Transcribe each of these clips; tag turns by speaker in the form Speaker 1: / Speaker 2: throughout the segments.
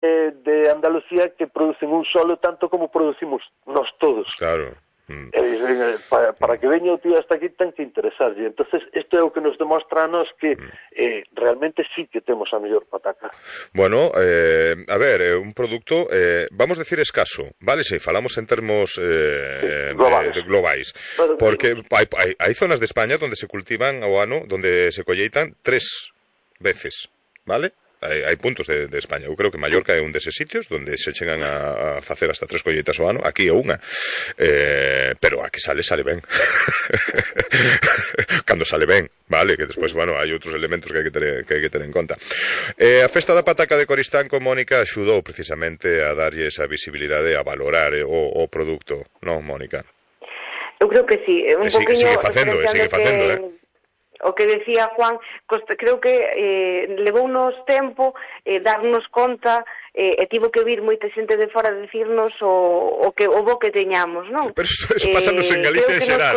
Speaker 1: de Andalucía que producen un solo tanto como producimos nós todos.
Speaker 2: Claro.
Speaker 1: Para que veña o tío hasta aquí ten que interesarlle. Entonces isto é o que nos demostra a nos que realmente sí que temos a mellor pataca.
Speaker 2: Bueno, a ver, un produto, vamos a decir escaso, vale? Se falamos en termos globais. Porque hai zonas de España donde se cultivan ao ano, donde se colleitan 3 veces, vale? Hai puntos de España. Eu creo que Mallorca é un deses sitios donde se chegan a facer hasta 3 colleitas ao ano. Aquí é unha. Pero a que sale ben. Cando sale ben, vale? Que despois, bueno, hai outros elementos que hai que ter en conta. A Festa da Pataca de Coristanco, Mónica, axudou precisamente a darlle esa visibilidade, a valorar o produto, non, Mónica?
Speaker 3: Eu creo que sí.
Speaker 2: Sigue facendo,
Speaker 3: O que decía Juan, creo que levounos tempo darnos conta e tivo que vir moita xente de fora a dicirnos o bo que teñamos, non?
Speaker 2: Pero eso pásanos en Galicia en xeral,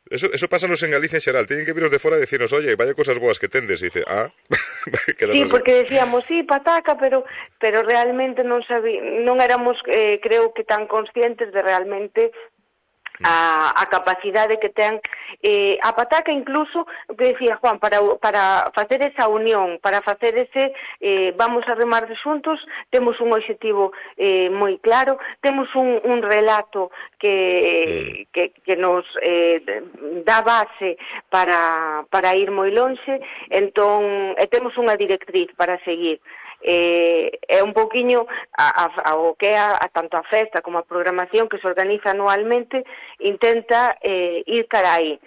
Speaker 2: Eso pásanos en Galicia en xeral. Tienen que viros de fora e dicirnos, oye, vaya cosas boas que tendes. E dice,
Speaker 3: sí, porque decíamos, sí, pataca, pero realmente non éramos, creo que tan conscientes de realmente a capacidade que ten a pataca, incluso o que decía Juan, para facer esa unión, para facer ese vamos a remar xuntos, temos un obxectivo moi claro, temos un relato que nos dá base para ir moi lonxe, entón temos unha directriz para seguir. É un poquinho o que é tanto a festa como a programación que se organiza anualmente, intenta ir cara aí,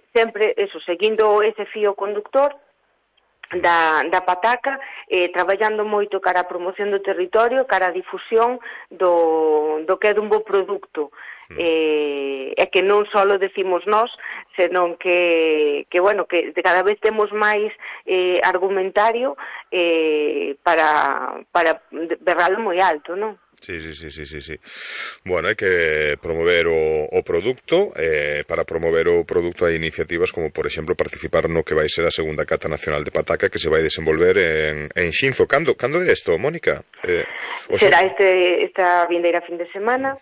Speaker 3: sempre eso, seguindo ese fío conductor da pataca, traballando moito cara a promoción do territorio, cara a difusión do que é dun bo produto. É que non só decimos nós, senón que bueno, que cada vez temos máis argumentario para berralo moi alto, non?
Speaker 2: Sí. Bueno, hai que promover o produto. Para promover o produto hai iniciativas como, por exemplo, participar no que vai ser a segunda Cata Nacional de Pataca que se vai desenvolver en Xinzo. Cando é isto, Mónica?
Speaker 3: Será esta vindeira fin de semana.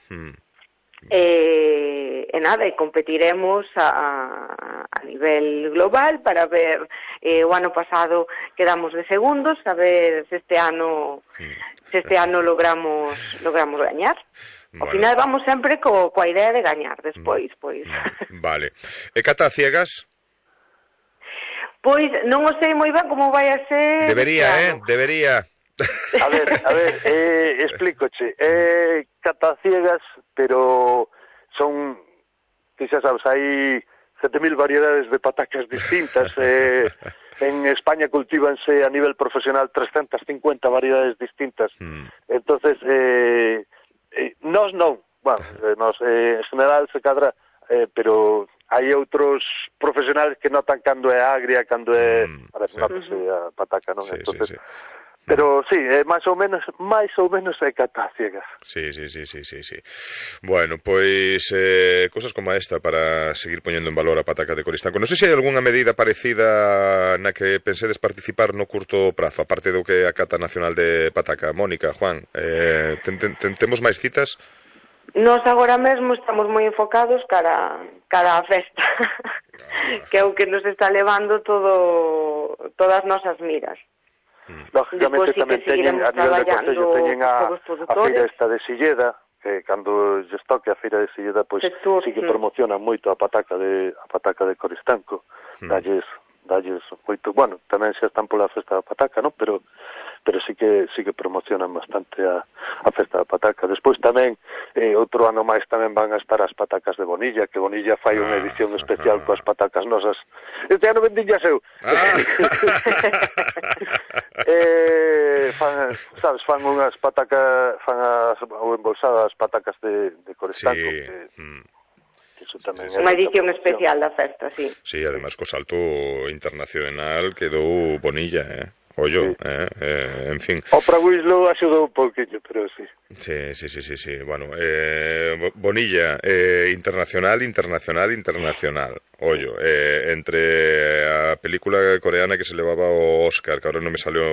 Speaker 3: E nada, e competiremos a nivel global para ver, o ano pasado quedamos de segundos, a ver se este ano logramos gañar. Ao final vamos sempre coa idea de gañar despois, pois.
Speaker 2: Vale. E cata a ciegas?
Speaker 3: Pois non o sei moi ben como vai a ser.
Speaker 2: Debería.
Speaker 1: A ver, explícoche. Cata ciegas, pero son, que xa sabes, hai 7.000 variedades de patacas distintas. En España cultívanse a nivel profesional 350 variedades distintas. Entonces, nós non. Bueno, nós, en general, se cadra, pero hai outros profesionales que notan cando é agria, cando é... Notase a pataca, non? Entonces, sí. Pero sí, máis ou menos é cata ciegas.
Speaker 2: Sí. Bueno, pois cosas como esta para seguir poñendo en valor a pataca de Coristanco. Non sei se hai algunha medida parecida na que pensedes participar no curto prazo, aparte do que a Cata Nacional de Pataca. Mónica, Juan, temos máis citas?
Speaker 3: Nós agora mesmo estamos moi enfocados cara a festa, que é o que nos está levando todas as nosas miras.
Speaker 1: Lógicamente tamén teñen, a nivel de Concello, teñen a feira esta de Silleda, que cando lles toque a feira de Silleda, pois sí que promocionan moito a pataca de Coristanco, dalles moito, bueno, tamén xa están pola festa da pataca, non? Pero sí que promocionan bastante a festa da pataca. Despois tamén, outro ano máis tamén van a estar as patacas de Bonilla, que Bonilla fai unha edición especial coas patacas nosas. Este ano vendinllas eu. Fan unhas patacas, ou embolsadas patacas de Coristanco, que eso tamén é
Speaker 3: unha edición especial da festa, sí.
Speaker 2: Sí, además co salto internacional quedou Bonilla, ollo, en fin.
Speaker 1: Oprah Winslow axudou un pouquinho, pero sí.
Speaker 2: Sí. Bueno, Bonilla, internacional. Ollo, entre a película coreana que se levaba o Oscar, que ahora non me salió